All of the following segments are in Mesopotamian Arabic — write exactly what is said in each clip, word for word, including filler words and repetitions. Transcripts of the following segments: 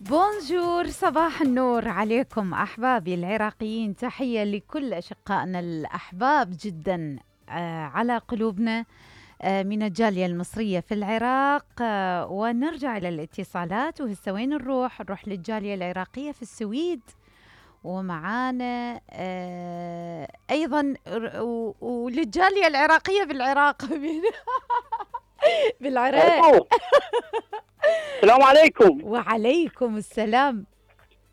بونجور، صباح النور عليكم أحبابي العراقيين. تحية لكل أشقائنا الأحباب جدا آه على قلوبنا آه من الجالية المصرية في العراق. آه ونرجع إلى الاتصالات، وهسه وين نروح؟ نروح للجالية العراقية في السويد، ومعانا آه أيضا وللجالية العراقية بالعراق بالعراق. السلام عليكم. وعليكم السلام.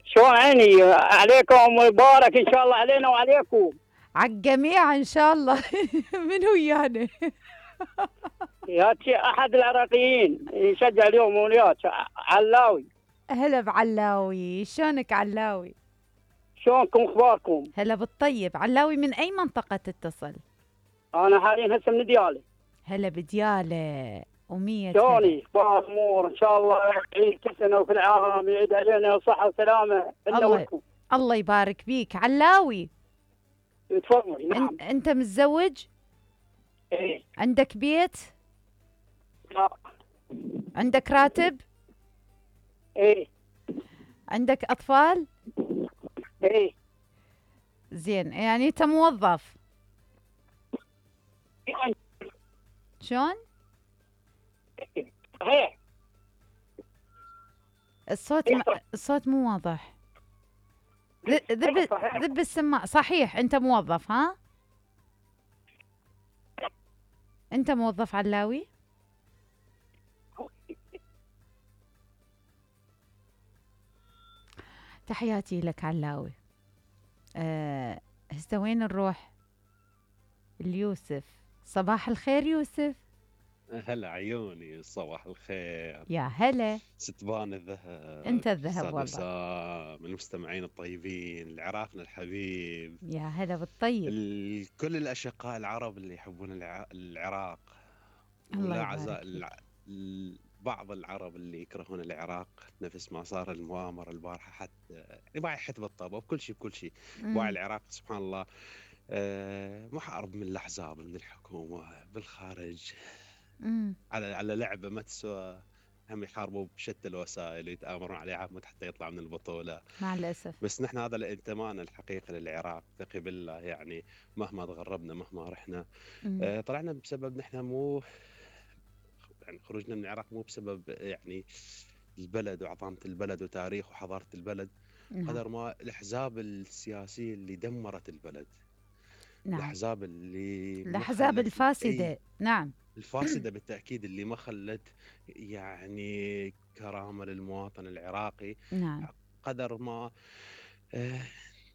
شلون عيني عليكم؟ مبارك ان شاء الله علينا وعليكم، على الجميع ان شاء الله. من هو يعني؟ يا احد العراقيين يشجع اليوم وياك، علاوي. هلا بعلاوي، شلونك علاوي؟ شلونكم اخباركم؟ هلا بالطيب. علاوي من اي منطقة تتصل؟ انا حاليا هسه من ديالى. هلا بديالى ومية. شلوني اخبار الامور؟ ان شاء الله يعيد كل سنه وفي العام يعيد علينا صحه وسلامه لنا ولكم. الله يبارك بيك علاوي. تفضل. نعم. أن... انت متزوج؟ ايه. عندك بيت؟ لا. عندك راتب؟ ايه. عندك اطفال؟ ايه. زين، يعني انت موظف؟ شلون؟ صحيح. الصوت م... الصوت مو واضح. ذب ذب السماعة. صحيح انت موظف؟ ها؟ انت موظف علاوي؟ تحياتي لك علاوي. أه هسه وين نروح؟ اليوسف. صباح الخير يوسف. هلا عيوني، صباح الخير يا هلا. ستبان الذهب. انت الذهب والله. من المستمعين الطيبين العراقنا الحبيب. يا هلا بالطيب. كل الاشقاء العرب اللي يحبون الع... العراق. الله يبارك يبارك. الع... بعض العرب اللي يكرهون العراق، نفس ما صار المؤامرة البارحة، حتى باعي حتى بالطابة بكل شيء بكل شيء. باعي العراق سبحان الله آه محارب من الأحزاب، من الحكومة بالخارج. مم. على على لعبة ما تسوى، هم يحاربوا بشتى الوسائل ويتآمرون عليه عمود حتى يطلع من البطولة مع الأسف. بس نحن هذا الانتماء الحقيقي للعراق، ثقي بالله، يعني مهما تغربنا مهما رحنا آه طلعنا بسبب نحن مو يعني خروجنا من العراق مو بسبب يعني البلد وعظمة البلد وتاريخ وحضارة البلد. نعم. قدر ما الأحزاب السياسية اللي دمرت البلد. نعم. الأحزاب اللي الأحزاب الفاسدة. ايه نعم. الفاسدة بالتأكيد، اللي ما خلت يعني كرامة للمواطن العراقي. نعم. قدر ما آه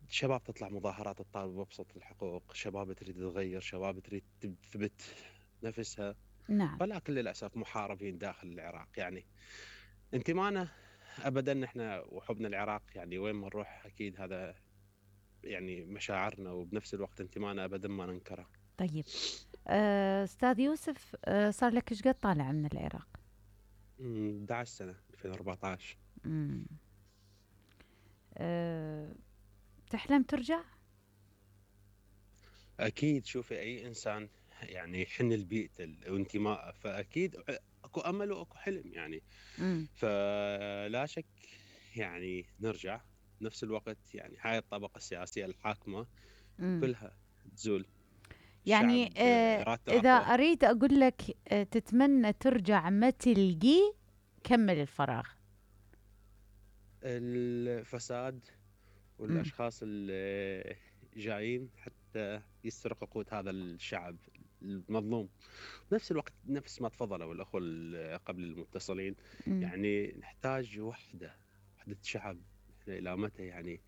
شباب تطلع مظاهرات تطالب بأبسط الحقوق، شباب تريد تغير، شباب تريد تثبت نفسها. نعم. ولكن للأسف محاربين داخل العراق. يعني انتمانا أبدا احنا وحبنا العراق، يعني وين ما نروح أكيد هذا يعني مشاعرنا، وبنفس الوقت انتمانا أبدا ما ننكره. طيب أستاذ يوسف، أه صار لك ايش قد طالع من العراق؟ أحد عشر سنة، ألفين وأربعطعش. امم أه تحلم ترجع؟ أكيد. شوفي أي إنسان يعني يحن لبيئته وانتمائه، فأكيد أكو أمل وأكو حلم يعني. مم. فلا شك يعني نرجع. نفس الوقت يعني هاي الطبقة السياسية الحاكمة مم. كلها تزول. يعني آه إذا أريد أقول لك آه تتمنى ترجع ما تلقي، كمل الفراغ. الفساد والأشخاص اللي جايين حتى يسرقوا قوت هذا الشعب المظلوم. بنفس الوقت نفس ما تفضلوا الأخوة قبل المتصلين، مم. يعني نحتاج وحدة وحدة شعب. إحنا إلى متى يعني؟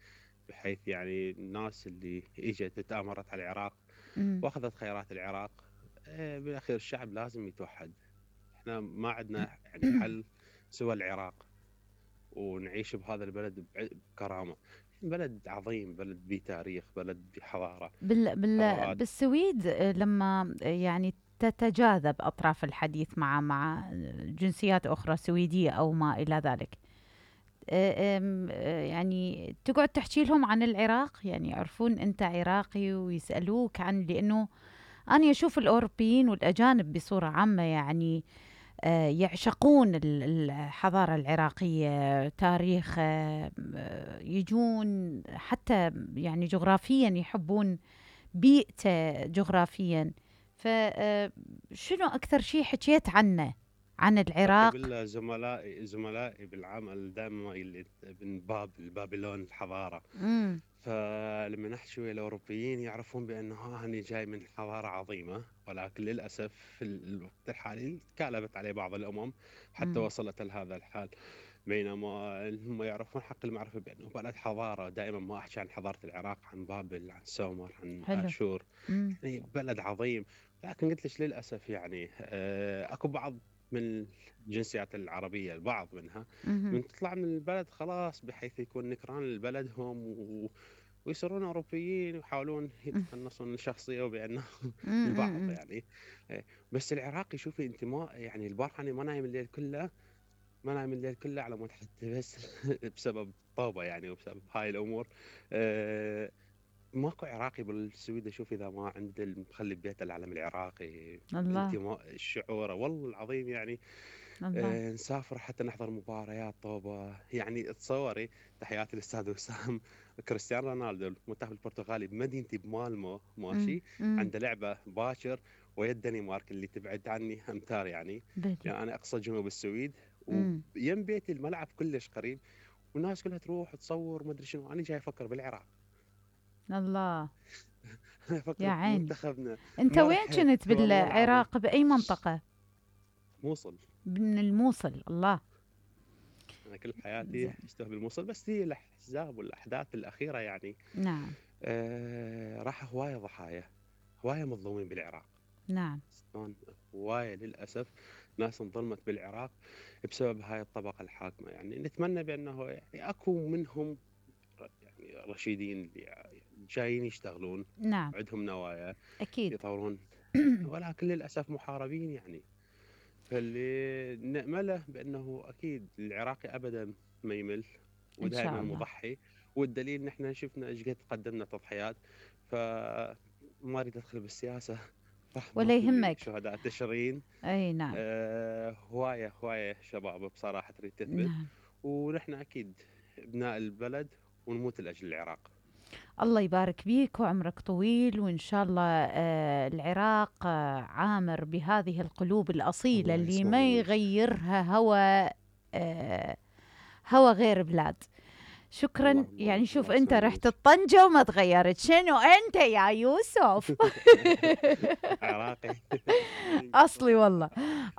بحيث يعني الناس اللي إجت تآمرت على العراق مم. واخذت خيرات العراق، بالاخير الشعب لازم يتوحد. احنا ما عندنا يعني حل سوى العراق، ونعيش بهذا البلد بكرامه. بلد عظيم، بلد بتاريخ، بلد بحضاره. بال بال بالسويد لما يعني تتجاذب اطراف الحديث مع مع جنسيات اخرى سويديه او ما الى ذلك، يعني تقعد تحكي لهم عن العراق، يعني يعرفون انت عراقي ويسالوك عن، لانه انا اشوف الاوروبيين والاجانب بصوره عامه يعني آه، يعشقون الحضارة العراقية، تاريخ، آه، يجون حتى يعني جغرافيا يحبون بيئته جغرافيا. فشنو أكثر شيء حكيت عنه عن العراق؟ بالله زملائي زملائي بالعمل دائما اللي من باب البابلون الحضارة. امم فلما نحكي ويا الأوروبيين يعرفون بأنه ها هني جاي من حضارة عظيمة، ولكن للأسف في الوقت الحالي تكالبت عليه بعض الأمم حتى امم وصلت لهذا الحال. بينما هم يعرفون حق المعرفة بأنه بلد حضارة. دائما ما أحكي عن حضارة العراق، عن بابل، عن سومر، عن حلو. آشور، امم يعني بلد عظيم. لكن قلت لك للأسف يعني آه، أكو بعض من الجنسيات العربية، البعض منها امم من تطلع من البلد خلاص بحيث يكون نكران لبلدهم و... ويصيرون أوروبيين ويحاولون يتقنصون الشخصية وبأنه البعض امم يعني إيه. بس العراقي شوفي أنت، ما يعني البارحة أنا ما نايم الليل كله، ما نايم الليل كله على مود حتى بس بسبب الطوبة يعني وبسبب هاي الأمور. أه ماكو عراقي بالسويد اشوف اذا ما عنده مخلي ببيته العلم العراقي. الله انتماء الشعور والله العظيم يعني. الله. آه نسافر حتى نحضر مباريات طوبة، يعني تصوري تحياتي للاستاذ وسام. كريستيانو رونالدو المنتخب البرتغالي بمدينتي بمالمو امم ماشي، امم عنده لعبة باكر ويا الدنمارك اللي تبعد عني امتار يعني. بلي. يعني انا اقصى جنوب السويد امم ويم بيتي الملعب كلش قريب، والناس كلها تروح تصور ما ادري شنو. انا جاي افكر بالعراق. الله. انا يا افكر عيني. بمنتخبنا. انت ما وين رحت كنت والله العظيم. بالعراق؟ باي منطقة؟ موصل. من الموصل. الله. انا كل حياتي زين. اشتغل بالموصل، بس هي الاحزاب والاحداث الاخيره يعني نعم. آه راح هوايه ضحايا، هوايه مظلومين بالعراق. نعم. شلون هوايه للاسف ناس انظلمت بالعراق بسبب هاي الطبقه الحاكمه. يعني نتمنى بانه يعني اكو منهم يعني رشيدين اللي جايين يشتغلون، نعم. عندهم نوايا أكيد. يطورون، ولكن للاسف محاربين يعني. فاللي نأمله بأنه أكيد العراقي أبدا ما يمل إن شاء ودائما الله. مضحي. والدليل نحن شفنا ايش قد قدمنا تضحيات. فما اريد ادخل بالسياسه ولا رحمه يهمك. لشهداء تشرين. أي نعم. أه هوايه هوايه شباب بصراحه تريد تثبت، نعم. ونحن اكيد ابناء البلد ونموت لاجل العراق. الله يبارك بيك وعمرك طويل، وإن شاء الله آه العراق آه عامر بهذه القلوب الأصيلة الله اللي يسمع ما منك. يغيرها هوى آه هوى غير بلاد. شكرا. اللهم يعني امين. شوف الله أنت يسمع رحت منك. الطنجة وما تغيرت، شنو أنت يا يوسف؟ عراقي. أصلي والله.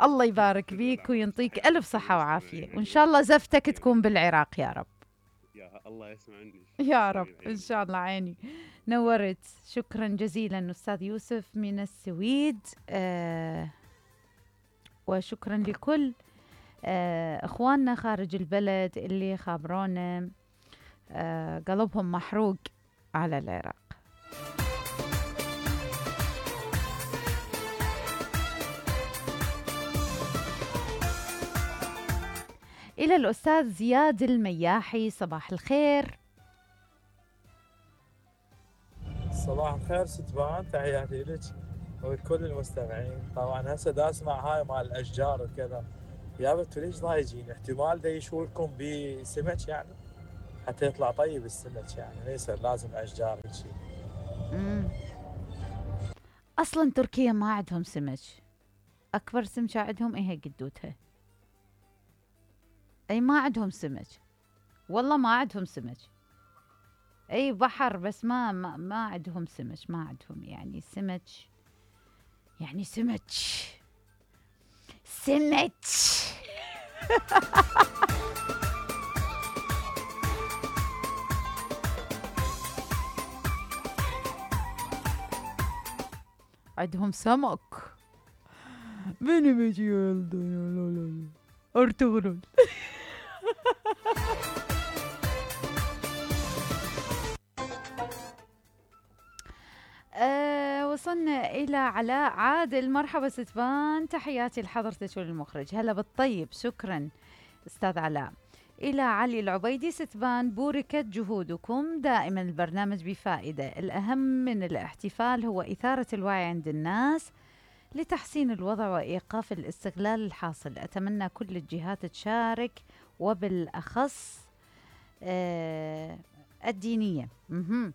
الله يبارك لا بيك لا ما وينطيك تحياتي ألف لكل صحة وعافية، المستمعين وإن شاء عيوني. الله زفتك عيوني. تكون بالعراق يا رب. يا الله يسمعني. يا رب حبيب إن عيوني. شاء الله. عيني نورت. شكرا جزيلا أستاذ يوسف من السويد. آه وشكرا لكل آه إخواننا خارج البلد اللي خابرونا آه قلبهم محروق على العراق. إلى الأستاذ زياد المياحي، صباح الخير. صباح الخير ستبان، تحياتي لك ولكل المستمعين. طبعا هسه دا اسمع هاي مال الاشجار وكذا، يا بنتو ليش ضايجين؟ احتمال دا يشولكم بسمك يعني حتى يطلع طيب السمك، يعني ما يصير لازم اشجار هيجي. مم. أصلا تركيا ما عندهم سمك، أكبر سمكة عندهم إيه قدوتها. أي ما عندهم سمك، والله ما عندهم سمك. أي بحر بس ما ما, ما عندهم سمك، ما عندهم يعني سمك، يعني سمك سمك. عندهم سمك. بني بيجي لا لا لا ارتغرل. أه وصلنا إلى علاء عادل. مرحبا ستبان، تحياتي لحضرتك وللمخرج. هلا بالطيب. شكرا أستاذ علاء. إلى علي العبيدي، ستبان بوركت جهودكم، دائما البرنامج بفائدة. الأهم من الاحتفال هو إثارة الوعي عند الناس لتحسين الوضع وإيقاف الاستغلال الحاصل. أتمنى كل الجهات تشارك وبالأخص آه الدينية. مهم.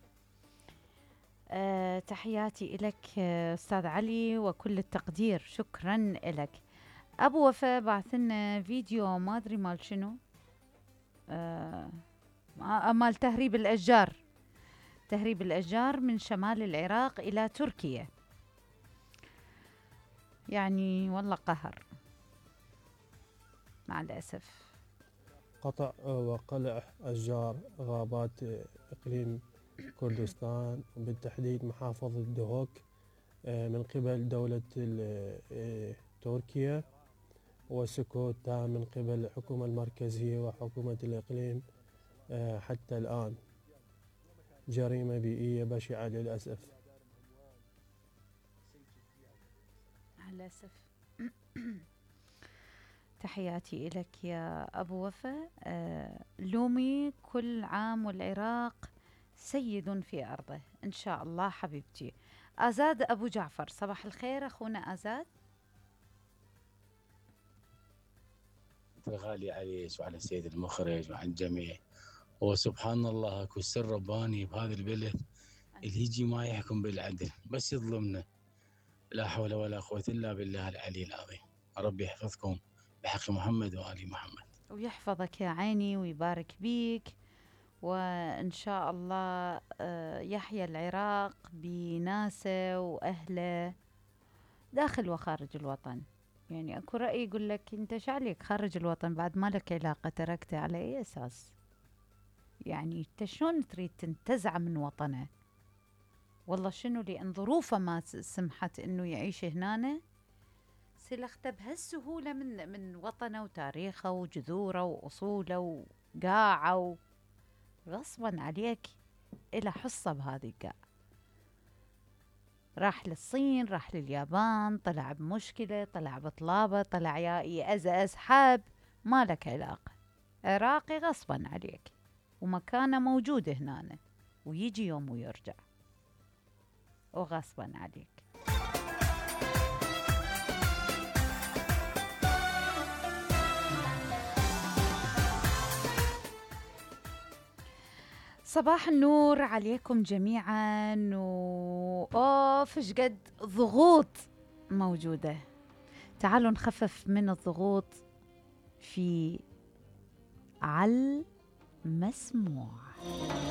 آه تحياتي إلك آه أستاذ علي وكل التقدير، شكرا إلك. أبو وفاء بعث لنا فيديو ما أدري مال شنو، آه مال تهريب الأشجار، تهريب الأشجار من شمال العراق إلى تركيا. يعني والله قهر مع الأسف. قطع وقلع أشجار غابات إقليم كردستان وبالتحديد محافظة دهوك من قبل دولة تركيا، وسكوت تام من قبل الحكومة المركزية وحكومة الإقليم حتى الآن. جريمة بيئية بشعة للأسف. للأسف. تحياتي إلك يا أبو وفاء. آه لومي كل عام والعراق سيد في أرضه إن شاء الله حبيبتي. آزاد أبو جعفر، صباح الخير أخونا آزاد. غالي عليك وعلى السيد المخرج وعلى الجميع. وسبحان الله اكو سر رباني بهذا البلد اللي يجي ما يحكم بالعدل بس يظلمنا. لا حول ولا قوة إلا بالله العلي العظيم. ربي يحفظكم بحق محمد وآل محمد. ويحفظك يا عيني ويبارك بيك، وإن شاء الله يحيى العراق بناسه وأهله داخل وخارج الوطن. يعني أكو رأي يقول لك أنت شعليك خارج الوطن بعد ما لك علاقة، تركته على أي أساس؟ يعني أنت شلون تريد تنتزع من وطنه؟ والله شنو، لأن ظروفه ما سمحت إنه يعيش هنا، سلخته بهالسهولة من من وطنه وتاريخه وجذوره وأصوله وقاعه، غصبا عليك إلى حصة بهذه القاع. راح للصين، راح لليابان، طلع بمشكلة، طلع بطلابة، طلع يا يأز أسحاب، ما لك علاقة. عراقي غصبا عليك ومكانه موجود هنا، ويجي يوم ويرجع وغصبا عليك. صباح النور عليكم جميعا. وأوف ايش قد ضغوط موجودة. تعالوا نخفف من الضغوط في على المسموع.